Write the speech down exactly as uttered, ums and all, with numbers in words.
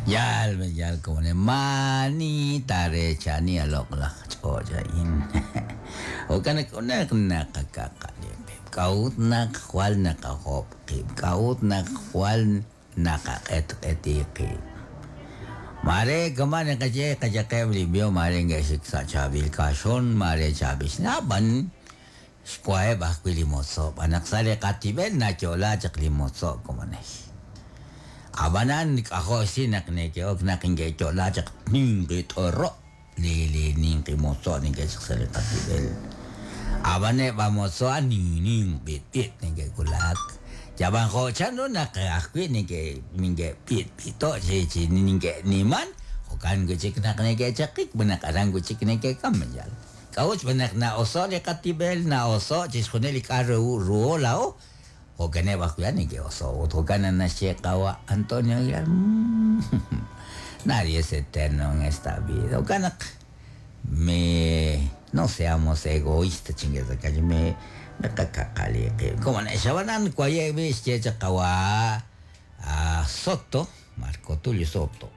Yal yal komone maani tareechani a loq'laj ch'och' a'in. Jo'kan naq naq naqakaqali qib', k'a'ut naq jwal naqajob' qib', k'a'ut naq jwal naqaq'etq'eti qib'. Mare kama' naqaye qayaqeb' li b'ihom, mare nke'xik sa' chaab'il kaxon, mare chaab'il xnab'an xwaheb' ajwi' li motzo', b'an naq sa' li qatib'el nayo'la chaq li motzo' komonej. Ab'anan k'ajo' xsi naq neke'ok naq nke'yo'la chaq ninqi t'oro' li li ninqi motzo' neke'chaq sa' li qatib'el. Ab'an eb' a motzo' a'an ninq b'itb'it neke'wulak. Yab'an jo' chanru naq ajwi' neke' neke'b'itb'ito' chi chi neke'niman, jo'kan wi' chik naq neke'chaqik, b'an naq aran wi' chik neke'kam yal. K'a'ut xb'aan naq na'oso' li qatib'el, na'oso' chixjunil li k'a' ru ruho laa'o, jo'kaneb' ajwi' a'an neke'oso'. Ut jo'kan naq naxye qawa' Antonio Aguilar, nadie es eterno en esta vida. Jo'kan naq me no seamos egoístas, chingue me miqakaqali qib'. Como xab'anan waye' b'i xye chaq qawa' a Soto, Marco Tulio Soto.